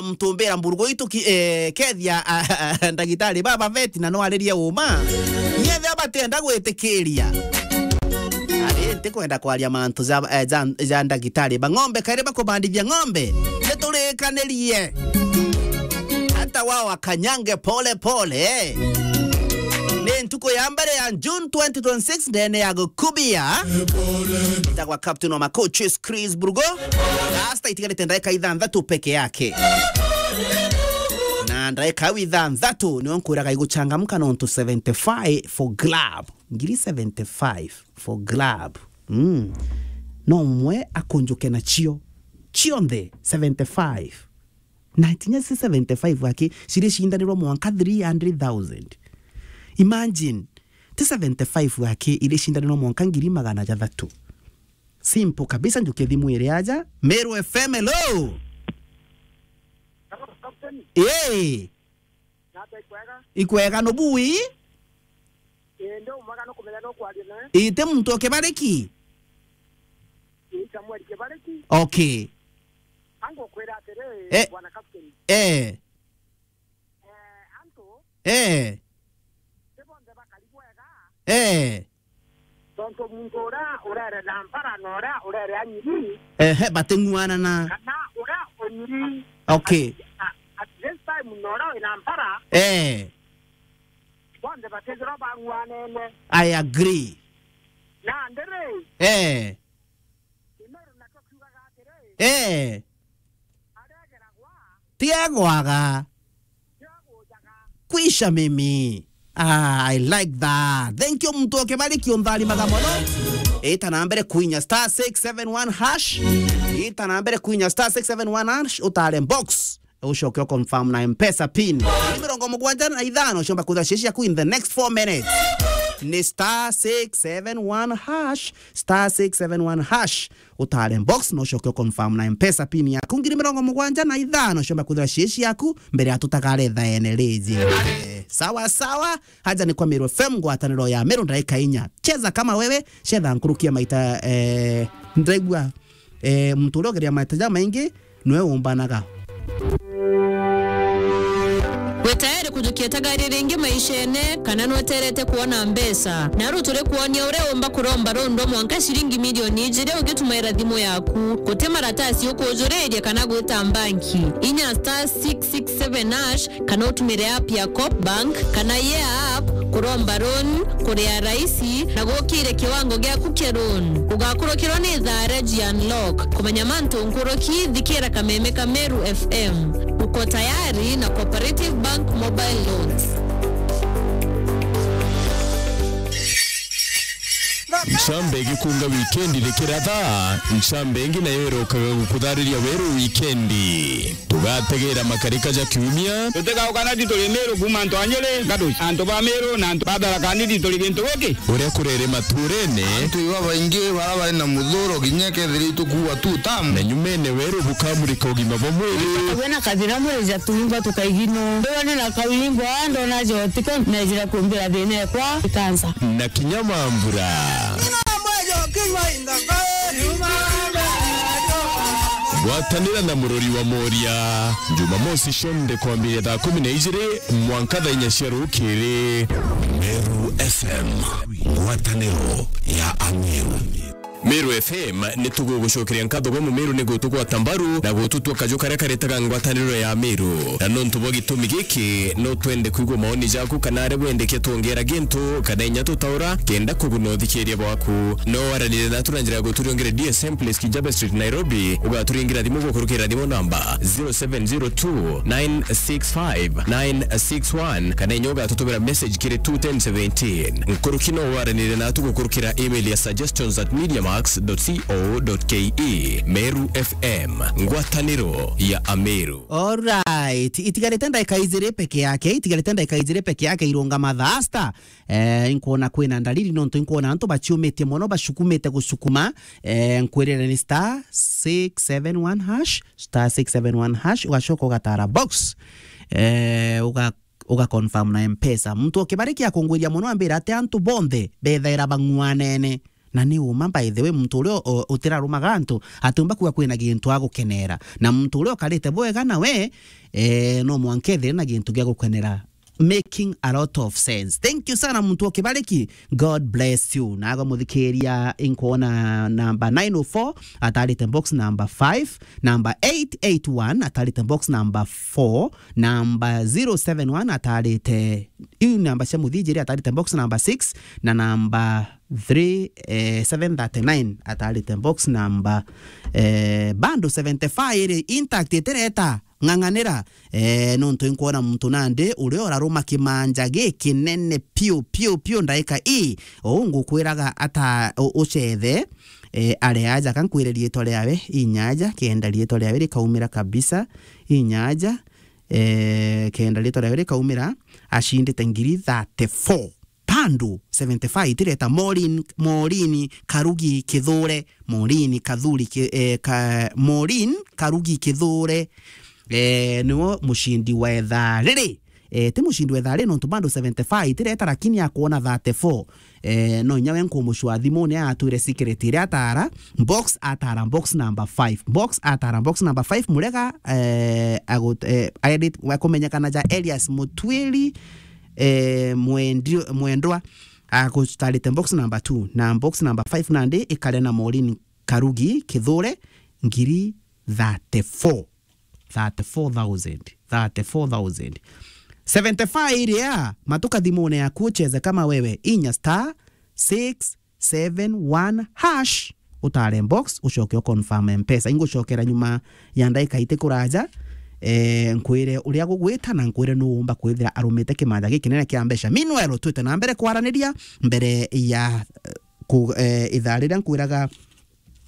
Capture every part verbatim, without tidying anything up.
Mtumbira mburugu itu ki-, eh, kethia, ah, ndagitari baba veti na no aririe uma. Nyethe abatienda gwitikiria. Ari, ntikwenda kwaria mantu ja, eh, ja, ja ndagitari ba ng'ombe, kairi bakubandithia ng'ombe. Niturikanirie. Hata wao wakanyange pole pole. Ni ntuku ya mbere ya June twenty twenty-six, ndene ya gukubia. Ndagwa captain wa macoaches Chris Brugo. Rasta itigarite ndagika ithanthatu peke yake. Na ndagika au ithanthatu, nio nkwiraga iguchangamka nontu seventy-five for grab. Ngiri seventy-five for grab. Mm. No mwe akunjuke nacio. Cionthe seventy-five. Na tinya si seventy-five aki, ciricindanirwa mwanka three hundred thousand. Imagine, ti seventy-five aki, iricindanirwa mwanka ngiri magana jathatu. Simple kabisa, njukie thimu iri aja. Meru F M, hello. Hello, Captain. Hey. Nata ikwega? Ikwega, no bui? Ii, ndi umwega, no kumenya no kwaria nawe. Ii, ti muntu o Kibariki? Ii, Samuel Kibariki. Okay. Angukwira atiri, eh, bwana Captain. Eh. Eh, antu, eh, ti bonthe bakari bwega. Eh. Tontu muntu uria urere na mpara na uria urere anyiri. Ehe, bating'uanana. Kana uria unyiri. Okay. At, at this time na uria wina mpara. Eh. Bonthe batithirwa bang'uanene. I agree. Na ndiri. Eh. Kimeru nakio kiugaga atiri. Eh. Aria ageragwa. Ti agwaga. Kwisha mimi. Ah, I like that. Thank you, muntu o Kibariki, untharimaga mono. Ita na mbere kuinya star six seven one hash. Ita na mbere kuinya star six seven one hash, utare box. Ucoke u confirm na M-Pesa pin. Ni mirongo mugwanja na ithano, ciomba kwithira cia ciaku in the next four minutes. Ni star six seven one hash, star six seven one hash. Utare box, no ucoke u confirm na M-Pesa pin yaku. Ngiri mirongo mugwanja na ithano, ciomba kwithira cie ciaku, mbere ya tutagare thaene riji. Eh, sawa, sawa. Haja ni kwa Meru F M, ngwataniro ya Meru, ndagika inya. Cheza kama wewe, cetha nkuruki ya maita, eh, ndiraigua, eh, muntu uria ugeria maita jamaingi, nwe umbanaga. Wi tayari kujukia tagari ringi maishene, kana nweterete kuona mbeca? Naru turi kuonia uria umba kuromba rundo mwanka ciringi milioni ijiri ugitumaira thimu yaku. Guti maratasi ukujuriria kana gwita mbanki. Inya star six six seven hash, kana utumire app ya Coop Bank kana Yeah App kuromba loan, kuria raisi na gukire kiwango giaku kia loan. Ugakurukirwa ni thaa ria G Unlock. Kumenya mantu nkuruki, thikira kameme ka Meru F M. Uko tayari na Cooperative Bank Mobile Loans. Ncambe igikunga wikendi rikiratha, ncambe ingi nayo irokaga gukuthariria weru wikendi. Tugategera makarika ja kiumia. Tutigauka na tituri Meru kuuma antu a Nyeri, Gaduci, antu ba Meru na antu ba Tharaka Nithi turi gintu giki. Uria kurere maturene. Antu iba baingi bara bari na muthuro kinya kethira itukuua tu tamu. Na nyumene weru bukamurika ugima bwa mwiri. Wena kathira mwiri ja tuingwa tukaigino. Ndona na kawingwa, ndona jotiko, nejira kumbira thina ekwa ikansa. Na kinya mambura. Gwatanira na murori wa Moria, Jumamosi cionthe kwambiria thaa kumi na ijiri mwanka thaa inya cia rukiri. Meru F M, ngwataniro ya Ameru. Meru F M, ni tugugucokeria nkatho gwa Mumiru ni gutugwata mbaru na gututua kaju karia karetaga ngwataniro ya Meru. Na nontu bwa gitumi giki, no twende kwigua maoni jaku kana aria wendeke twongera gintu kana inya tutaura kenda kuguna uthikiria bwaku. No waranire natu na njira ya guturiongere D S M Place Kijabe Street, Nairobi. Ugaturingira thimu gukurukira thimu namba zero seven zero two nine six five nine six one, kana inya ugatutumira message kiri two ten seventeen. Nkuruki no waranire natu gukurukira email ya suggestions at mediamax dot co dot ke. Meru F M, ngwataniro ya Ameru. Alright, itigarite ndagika ijiri peke yake, itigarite ndagika ijiri peke yake irungama thaa sita. Eh, inkwona kwina ndariri nontu inkwona antu baciumitie mono, bacukumite gucukuma. Eh, nkwirire ni star six seven one hash, star six seven one hash, ugacoka ugatara box. Eh, uga, uga confirm na M-Pesa. Muntu o Kibariki akungwiria mono ambira ati antu bonthe bethaira bang'uanene. Na ni uma, by the way, muntu uria u-, utirarumaga antu atiumba kuga kwina gintu agukenera. Na muntu uria ukarite bwega nawe, eh, no mwanka ethire na gintu gia gukenera. Making a lot of sense. Thank you sana, muntu wa Kibariki. God bless you. Nago muthikiria, inkwona number nine oh four atarite box number five, number eight eight one atarite box number four, number zero seven one atarite, iu namba cia muthinjiri, atarite box number six, na number three, eh, seven thirty-nine atarite box number, eh, bando seventy-five iri intact, itireta. Ng'ang'anira, eh, nontu inkwona muntu nandi uria uraruma kimanja gikinene piu, piu, piu, ndaika ii. Uu ngukwiraga ata u-, ucethe, eh, ari aja, ka nkwire riitwa riawe, inya aja, kenda riitwa riawe rikaumira kabisa, inya aja, eh, kenda riitwa riawe rikaumira, acindite ngiri thirty-four. Pandu seventy-five itireta. Maureen, Maureen Karugi Kithure, Maureen Kathuri Ki-, eh, ka-, Maureen Karugi Kithure, eh, niwe mucindi wa ithaa riri. Eh, ti mucindi wa ithaa riri, nontu bando seventy-five itireta, lakini akwona thirty-four. Eh, no inya we nkumucua thimune atwire secret iria atara, box atara box number five. Box atara box number five, murega, eh, agut-, eh, edit, wa kumenyekana ja Elias Mutwiri, eh, Mwendi-, Mwendwa, agutarite box number two, na box number five nandi ikare na Maureen Karugi Kithure, ngiri thirty-four. Thirty-four thousand. Thirty-four thousand. Seventy-five iria, matuka thimune yaku ucheze kama wewe, inya star six seven one hash, utare box, ucoke u confirm Mpesa. Ingucokera nyuma ya ndaika iti kuraja, eh, nkwire uria gugwita na nkwire nu umba kwithira arumite kimanja gikinene kia mbeca. Meanwhile, twite na mbere kwaraniria mbere ya, eh, ku-, eh, ithaa riria nkwiraga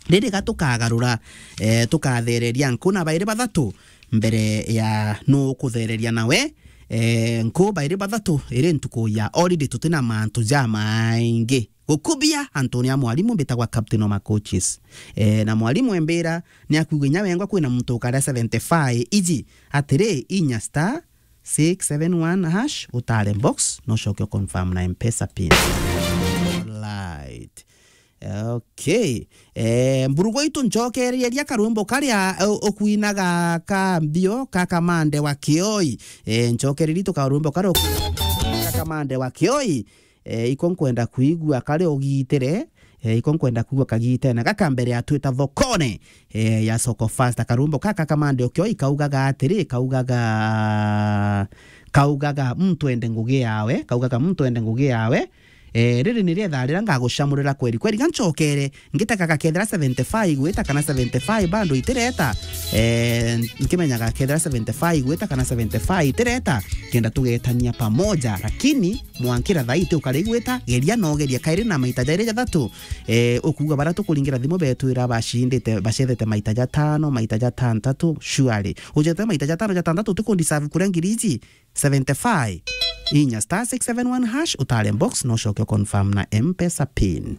riri ga tukagarura, eh, tukathereria nku na bairi bathatu mbere ya nu kuthereria nawe, eh, nku bairi bathatu iri ntuku ya holiday, tutina mantu jamaingi. Gukubia antuni a mwarimu mbitagwa Captain Oma Coaches. Eh, na mwarimu embira ni akwigua inya wengwa kwina muntu ukaria seventy-five iji atiri, inya star six seven one hash, utare box, no ucoke u confirm na Mpesa pin. Right. Okay. Eh, mburugu itu, ncokereria karwimbo karia, eh, ukwinaga ka mbio ka Kamande wa Kioi. Eh, ncokereria itu karwimbo karia ukwinaga ka Kamande wa Kioi. Eh, iko nkwenda kuigua karia ugitire. Eh, iko nkwenda kuigua kagitene gaka mbere ya twita thokone, eh, ya Soko Fast. Karwimbo kaka ka Kamande wa Kioi kaugaga atiri, kaugaga, kaugaga, "Muntu ende ngugi yawe," kaugaga, "Muntu ende ngugi yawe." Eh, riri ni rietha riria ngagucamurira kweri kweri. Ga ncokere, ngitega gakethira seventy-five igwita kana seventy-five bando itireta. Eh, nkimenyaga kethira seventy-five igwita kana seventy-five itireta, kenda tugetania pamoja. Lakini mwankira thaiti ukari igwita, geria no geria kairi na maita jairi jathatu. Eh, ukuga bara tukuringira thimu betwira bacindite, bacethete maita jatano, maita jatantatu, surely. Ucethete maita jatano, jatantatu, utikundi serve kuria ngiri iji seventy-five. Inya star six seven one hash, utare box, no ucoke u confirm na Mpesa pin.